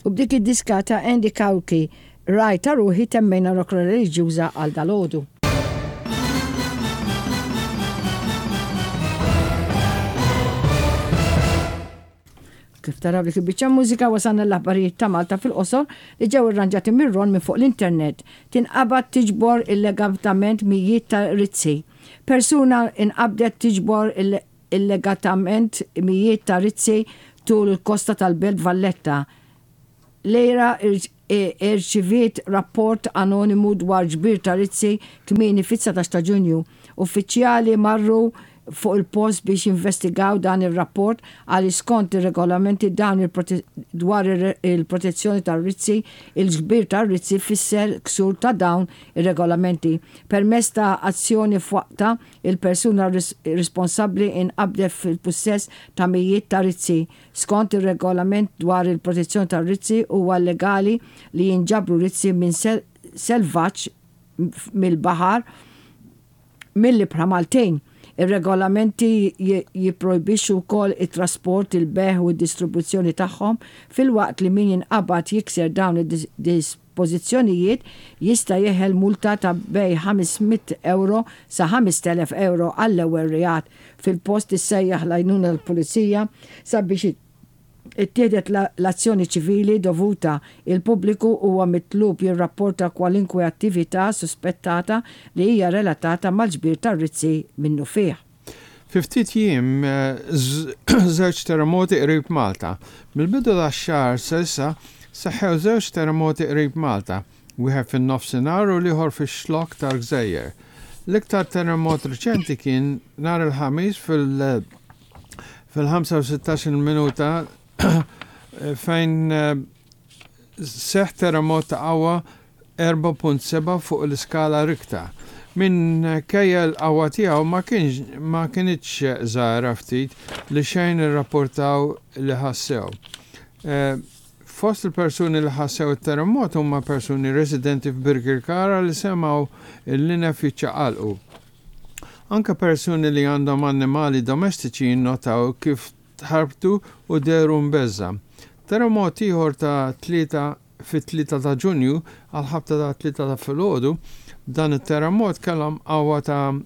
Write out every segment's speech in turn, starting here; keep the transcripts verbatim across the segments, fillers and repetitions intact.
U b'dik id-diska ta' Andy Cauchi, "Ragħaj ta' Ruħi", temmejna Rokna Reliġjuża għal dalgħodu. Kif taraw dik il-biċċa mużika, wasalna l-aħbarijiet ta' Malta fil-qosor li ġew irranġati mir-Ron minn fuq l-internet. Tinqabad tiġbor illegalment mijiet ta' rizzi. Persuna inqabdet tiġbor illegalment mijiet ta' rizzi tul il-kosta tal-Belt Valletta. L-E R A irċiviet rapport anonimu dwar ġbir ta' rizzi kmieni fit-dsatax ta' Ġunju. Uffiċjali marru fuq il-post biex investigaw dan il-rapport għal skont ir-regolamenti dan dwar il-protezzjoni tar-rizzi, il-ġbir tar-rizzi fisser ksur ta' dawn ir-regolamenti. Permezz ta' azzjoni f'waqtha, il-persuna responsabbli inqabdet fil-pussess ta' mijiet ta' rizzi. Skont ir-regolament dwar il-protezzjoni tar-rizzi, huwa illegali li jinġabru rizzi minn selvaġġ mill-baħar mill-ibħra Maltin. Ir-regolamenti jipprojbixxu wkoll it-trasport, il-bejgħ u d-distribuzzjoni tagħhom, filwaqt li min jinqabad jikser dawn id-dispożizzjonijiet jista' jeħel multa ta' bejn ħames mitt euro sa ħamest elef euro għall-ewwel reat. Fil-post issejjaħ l-għajnuna l-pulizija sabiex ittieħdet l-azzjoni ċivili dovuta. Il-pubbliku huwa mitlub jirrapporta kwalunkwe attività suspettata li hija relatata mal-ġbir tar-rizzi minnufih. Fi ftit jiem żewġ terremoti qrib Malta. Mill-bidu tax-xahar s'issa seħħew żewġ terremoti qrib Malta, wieħed fin-nofsinhar u l-ieħor fix-xlok tal-Gżejjer. L-iktar terremot riċenti kien nhar il-Ħamis fil- fil-ħamsa u sittax minuta fejn eh, seħ terremot ta' qawwa erbgħa punt sebgħa fuq l-iskala Richter. Minkejja l-qawwa tiegħu ma kienx ma kinitx żgħira, ftit li xejn irrapportaw li ħassew. Eh, fost il-persuni li ħassew it-terremot huma persuni residenti f'Birkirkara li semgħu il-linef jiċċaqalqu. Anka persuni li għandhom annimali domestiċi jinnotaw kif tħarbtu u dehru mbeżżgħa. Terremot ieħor ta' tlieta fit-tlieta ta' Ġunju għal ħabta ta' tlieta ta' filgħodu, dan it-terremot kellhom qawwa ta'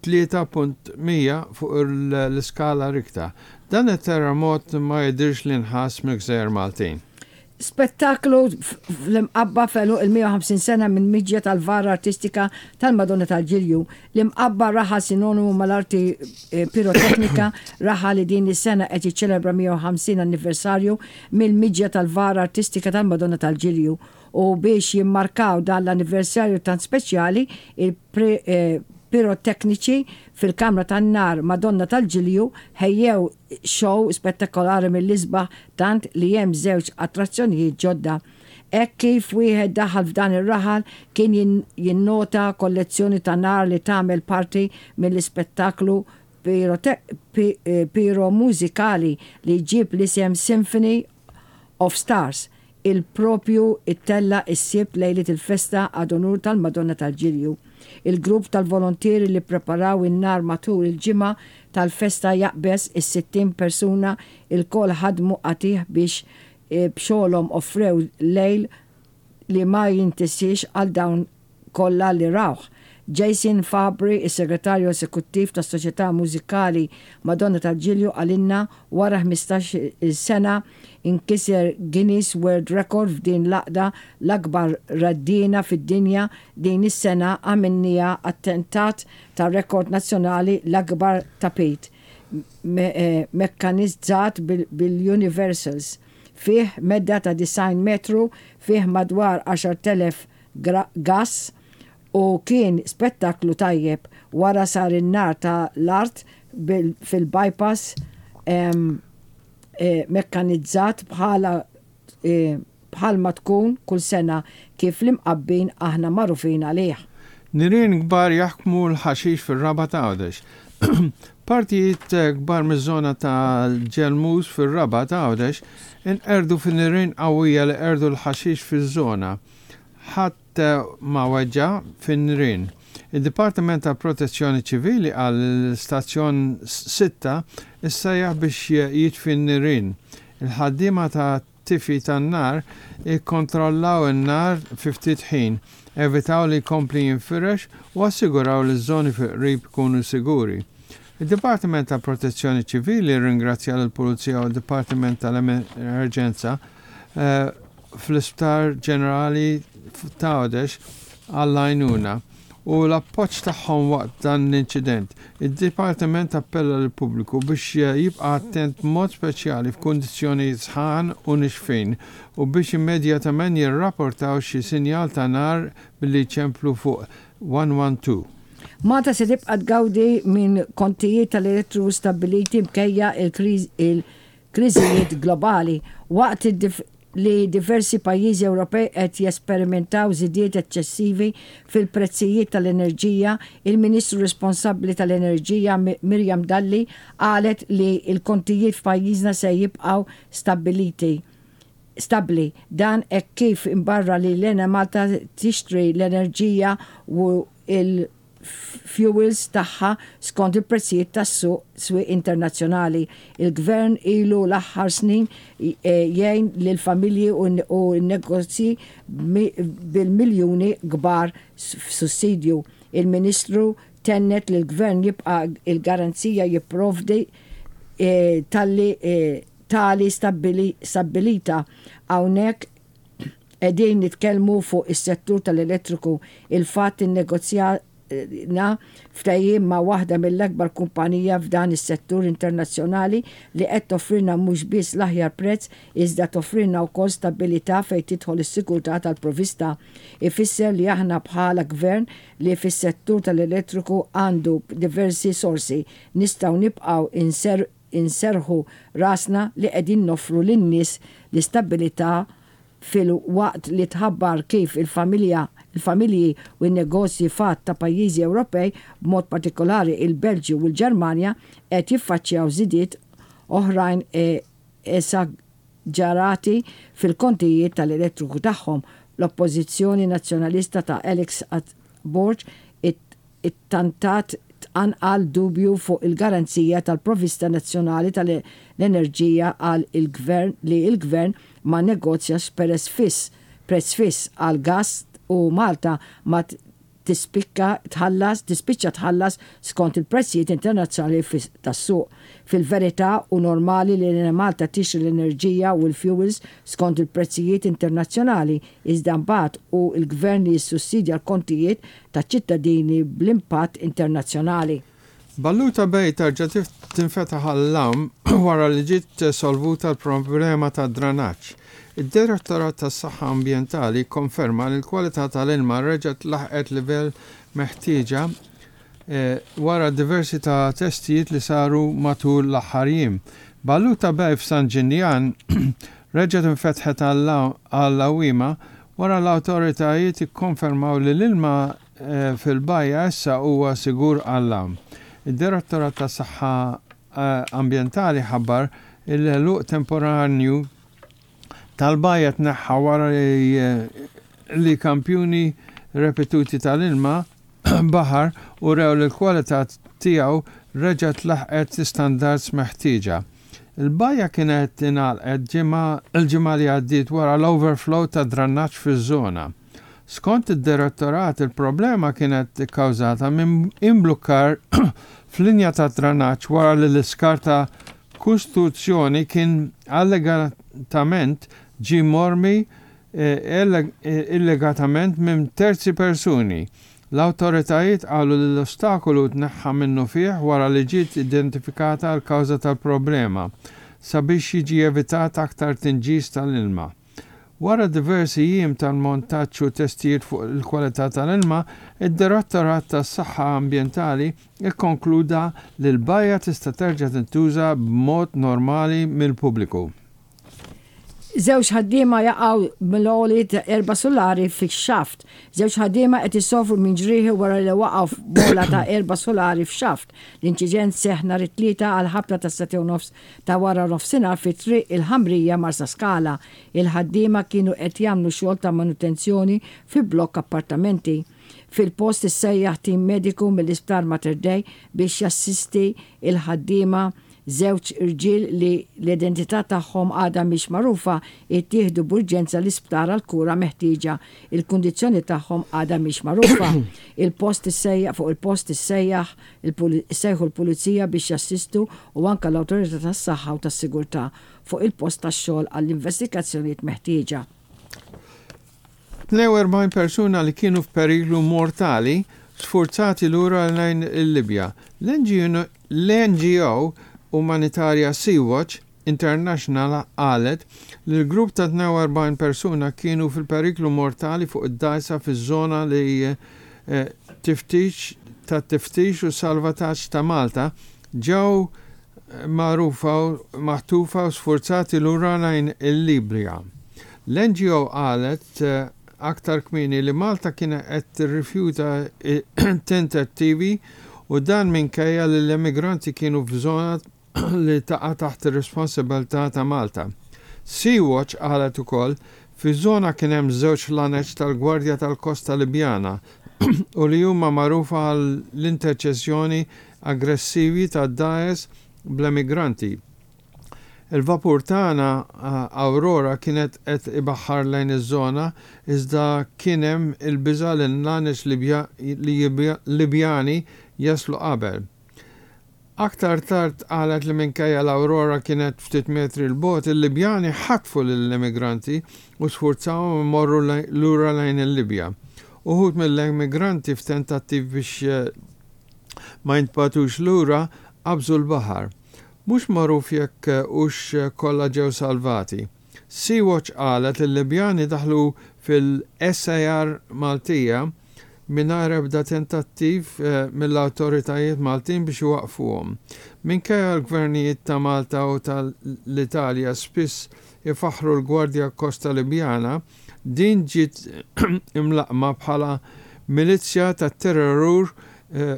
tlieta punt mija fuq l-iskala Richter. Dan it-terremot ma jidirx li nħass mill-Gżejjer Maltin. Spettaklu fl-Imqabba f'għeluq il-mija u ħamsin sena minn miġja tal-vara artistika tal-Madonna tal-Ġilju. L-Imqabba, raħal sinonimu mal-arti eh, piroteknika, raħal li din is-sena qed jiċċelebra mija u ħamsin anniversarju mill-miġja tal-vara artistika tal-Madonna tal-Ġilju. U biex jimmarkaw dan l-anniversarju tant speċjali, il-pirotekniċi eh, fil-Kamra tan-Nar Madonna tal-Ġilju ħejjew show spettakolari mill-isbaħ, tant li hemm żewġ attrazzjonijiet ġodda. Hekk kif wieħed daħal f'dan ir-raħal kien jinnota kollezzjoni ta' nar li tagħmel parti mill-ispettaklu eh, piromużikali li jġib l-isem Symphony of Stars, il propju ittella is-Sibt lejlet il-festa ad unur tal-Madonna tal-Ġilju. Il-grupp tal-volontieri li preparaw in-nar matul il-ġimgħa tal-festa jaqbeż is-sittin persuna. Ilkoll ħadmu qatigħ biex e, b'xogħolhom offrew lejl li ma jintesiex għal dawn kollha li rawh. Jason Fabri, is-segretarju esekuttiv tas-Soċjetà Mużikali Madonna tal-Ġilju, qalilna: "Wara ħmistax-il sena inkiser Guinness World Record f'din l-għaqda, l-akbar reddiena fid-dinja. Din is-sena għamilnieha attentat ta' rekord nazzjonali, l-akbar tapit eh, mekkanizzat bil-Universals fih medda ta' disgħin metru, fih madwar għaxart elef gas u kien spettaklu tajjeb. Wara sar in-nar ta' l-art fil-bypass e, mekkanizzat bħala e, bħalma tkun kull sena, kif l-Imqabbin aħna magħrufin għalih." Nirien kbar jaħkmu l-ħaxix fil-Rabat Għawdex. Partijiet kbar miż-żona tal-Ġelmus fil-Rabat Għawdex inqerdu fin-nirien qawwija li qerdu l-ħaxix fiż-żona. Ħadd ma weġġa fin-nirien. Il-Dipartiment ta' Protezzjoni Ċivili qal l-istazzjon sitta issejjaħ biex jitfi n-nirien. Il-ħaddiema ta' tat-tifi tan-nar ikkontrollaw in-nar fi ftit ħin, evitaw li jkompli jinfirex u assiguraw li ż-żoni fil-qrib ikunu siguri. Id-Dipartiment ta' Protezzjoni Ċivili ringrazzja l-Pulizija u d-Dipartiment tal-Emerġenza eh, fl-Isptar Ġenerali ta' Għawdex għall-għajnuna u l-appoġġ tagħhom waqt dan l-inċident. Id-Dipartiment appella lill-pubbliku biex jibqa' attent b'mod speċjali f'kundizzjonijiet sħan u nixfin u biex immedjatament jirrapportaw xi sinjal ta' nar billi jċemplu fuq one one two. Malta se tibqa' tgawdi minn kontijiet tal-elettriku stabbiliti minkejja il-kriżijiet globali waqt li diversi pajjiżi Ewropej qed jesperimentaw żidiet eċċessivi fil-prezzijiet tal-enerġija. Il-Ministru responsabbli tal-Enerġija Miriam Dalli qalet li l-kontijiet f'pajjiżna se jibqgħu stabbiliti stabli. Dan hekk kif imbarra li l-Enemalta tixtri l-enerġija u il fuels tagħha skont il-prezzijiet tas-suq swieq internazzjonali. Il-gvern ilu l-aħħar snin eh, jgħin lil familji u n-negozji bil-miljuni kbar f'sussidju. Il-Ministru tennet li l-gvern jibqa' il-garanzija jipprovdi eh, talli eh, tali stabbilità. Hawnhekk qegħdin nitkellmu fuq is-settur tal-elettriku. Il-fatt innegozjajna ftehim ma' waħda mill-akbar kumpanija f'dan is-settur internazzjonali li qed toffrilna mhux biss l-aħjar prezz, iżda toffrilna wkoll stabilità fejn tidħol is-sigurtà tal-provista. Ifisser li aħna bħala gvern li fis-settur tal-elettriku għandu diversi sorsi nistgħu nibqgħu inser inserħu rasna li qegħdin noffru lin-nies l-istabilità, filwaqt li tħabbar kif il-familja il-familji u n-negozji f'għadd ta' pajjiżi Ewropej, b'mod partikolari il-Belġju u l-Ġermanja, qed jiffaċċjaw żidiet oħrajn esaġerati fil-kontijiet tal-elettriku tagħhom. L-Oppożizzjoni Nazzjonalista ta' Alex Borg ittantat tqanqal dubju fuq il-garanzija tal-provista nazzjonali tal-enerġija għal il-gvern li il-gvern ma negozjax prezz fiss prezz fiss għal gas u Malta ma tispikka tħallas tispiċċa tħallas skont il-prezzijiet internazzjonali tas-suq. Fil-verità u normali li Malta tixtri l-enerġija u l-fuels skont il-prezzijiet internazzjonali, iżda mbagħad hu l-gvern li jissussidja l-kontijiet taċ-ċittadini bl-impatt internazzjonali. Balluta Bay terġa' tinfetaħ għall-għawm wara li ġiet solvuta l-problema ta' dranaġġ. Id-Direttorat tas-Saħħa Ambjentali konferma li l-kwalità tal-ilma reġgħet laħqet livell meħtieġa eh, wara diversi ta' testijiet li saru matul l-aħħar jiem. Balluta Bay f'San Ġiljan reġgħet infetħet għall-għawwiema wara l-awtoritajiet ikkonfermaw li l-ilma eh, fil-bajja issa huwa sigur għall-għawm. Id-Direttorat tas-Saħħa eh, Ambjentali ħabbar il-għeluq temporanju tal-bajja tneħħa wara li, eh, li kampjuni repetuti tal-ilma baħar urew li l-kwalità tiegħu reġgħet laħqet standards meħtieġa. Il-bajja kienet ingħalqet il-ġimgħa li għaddiet wara l-overflow ta' drannaġġ fiż-żona. Skont id-direttorat, il-problema kienet ikkawżata minn imblukkar f'linja ta' dranaġġ wara li l-iskart ta' kostruzzjoni kien allegatament ġi mormi eh, eh, illegatament minn terzi persuni. L-awtoritajiet qalu li l-ostakolu tneħħa minnufih wara li ġiet identifikata l-kawża tal-problema sabiex jiġi evitat aktar tinġis tal-ilma. Wara diversi jiem tal-montaġġ u testijiet fuq il-kwalità tal-ilma, id-Direttorat tas-Saħħa Ambjentali ikkonkluda li l-bajja tista' terġa' tintuża b'mod normali mill-pubbliku. Żewġ ħaddiema jaqgħu mill-għoli ta' erba' solari fix-xaft. Żewġ ħaddiema qed isofru minn ġrieħi wara li waqgħu f'bola ta' erba' solari f'xaft. L-inċident seħħ nhar it-Tlieta għal ħabta ta' sagħtejn u nofs ta' wara nofsinhar fi Triq il-Ħamrija, Marsaskala. Il-ħaddiema kienu qed jagħmlu xogħol ta' manutenzjoni fi blokk appartamenti. Fil-post issejjaħ tim mediku mill-Isptar Mater Dei biex jassisti il-ħaddiema. Żewġ irġiel li l-identità tagħhom għadha mhix magħrufa ittieħdu b'urġenza l-isptar għal kura meħtieġa. Il-kundizzjoni tagħhom għadha mhix magħrufa. Il-post issejjaħ fuq il-post issejjaħ sejħu l-pulizija biex jassistu u anka l-awtorità tas-saħħa u tas-sigurtà fuq il-post tax-xogħol għall-investigazzjonijiet meħtieġa. tnejn u erbgħin persuna li kienu f'periklu mortali sfurzati lura lejn il-Libja. L-N G O umanitarja Sea-Watch International qalet li l-grupp ta' tnejn u erbgħin persuna kienu fil-periklu mortali fuq id-dgħajsa fiż-żona li eh, tiftix ta' tiftix u salvataġġ ta' Malta, ġew magħrufa, maħtufa u sfurzati lura lejn il-Libja. L-N G O qalet eh, aktar kmieni li Malta kienet qed tirrifjuta tentattivi u dan minkejja li l-immigranti kienu f'żona li taqa' taħt ir-responsabilità ta' Malta. Sea-Watch qalet ukoll fi żona kien hemm żewġ laneċ tal-Gwardja tal-Kosta Libjana u li huma magħrufa għall-interċezzjoni aggressivi ta' dgħajjes bl-emigranti. Il-vapur tagħna Aurora kienet qed ibaħħar lejn iż-żona, iżda kien hemm il-biża' li l-laneċ Libjani jaslu qabel. Aktar tard qalet li minkejja l-Aurora kienet ftit metri 'l bogħod, il-Libjani ħatfu lill-immigranti u sfurzawhom imorru lura lejn il-Libja. Uħud mill-immigranti, f'tentattiv biex eh, ma jintbagħtux lura, qabżu l-baħar. Mhux magħruf jekk hux kollha ġew salvati. Sea-Watch qalet li l-Libjani daħlu fil-S A R Maltija mingħajr ebda tentattiv eh, mill-awtoritajiet Maltin biex iwaqfuhom. Minkejja l-gvernijiet ta' Malta u tal-Italja spiss ifaħru l-Gwardja Kosta Libjana, din ġiet imlaqma bħala milizja ta' terror eh,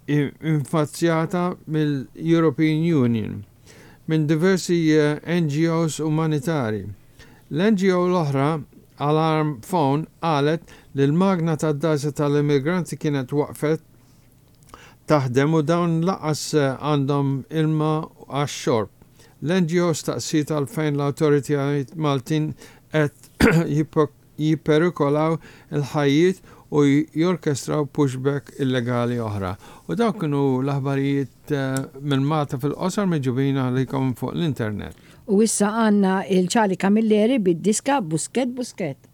infazzjata mill-European Union minn diversi eh, N G Os umanitari. L-N G O l-oħra, Alarm Phone, qalet li l-magna tad-dgħajsa tal-immigranti kienet waqfet taħdem u dawn lanqas eh, għandhom ilma għax-xorb. L-N G O staqsiet għalfejn l-awtoritajiet Maltin qed jipperikolaw il-ħajjiet u jorkestraw pushback illegali oħra. U dawk kienu l-aħbarijiet eh, minn Malta fil-qosor miġjubin għalikom fuq l-internet. U issa għandna il-Charlie Camilleri bid-diska Buskett Buskett.